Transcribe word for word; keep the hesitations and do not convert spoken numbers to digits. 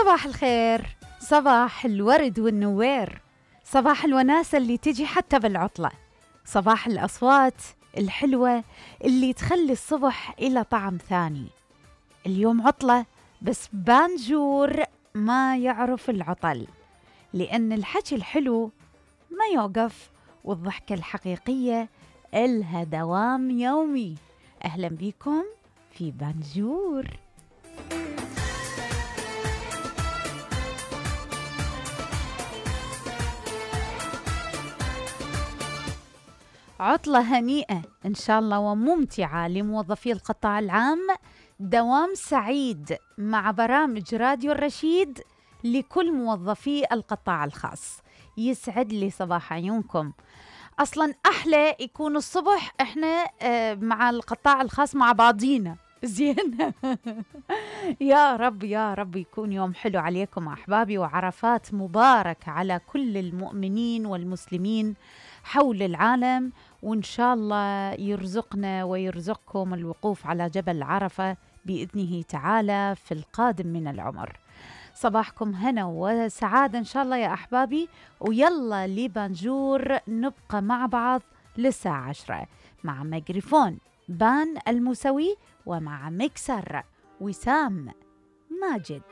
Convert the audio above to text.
صباح الخير، صباح الورد والنوير، صباح الوناسة اللي تجي حتى بالعطلة، صباح الأصوات الحلوة اللي تخلي الصبح إلى طعم ثاني. اليوم عطلة بس بانجور ما يعرف العطل، لأن الحكي الحلو ما يوقف والضحكة الحقيقية إلها دوام يومي. أهلا بكم في بانجور. عطلة هنيئة إن شاء الله وممتعة لموظفي القطاع العام، دوام سعيد مع برامج راديو الرشيد لكل موظفي القطاع الخاص. يسعد لي صباح عيونكم. أصلاً أحلى يكون الصبح إحنا مع القطاع الخاص مع بعضينا زين. يا رب يا رب يكون يوم حلو عليكم أحبابي، وعرفات مبارك على كل المؤمنين والمسلمين حول العالم، وإن شاء الله يرزقنا ويرزقكم الوقوف على جبل عرفة بإذنه تعالى في القادم من العمر. صباحكم هنا وسعادة إن شاء الله يا أحبابي، ويلا لبانجور نبقى مع بعض للساعة عشرة مع ميكروفون بان الموسوي ومع مكسر وسام ماجد.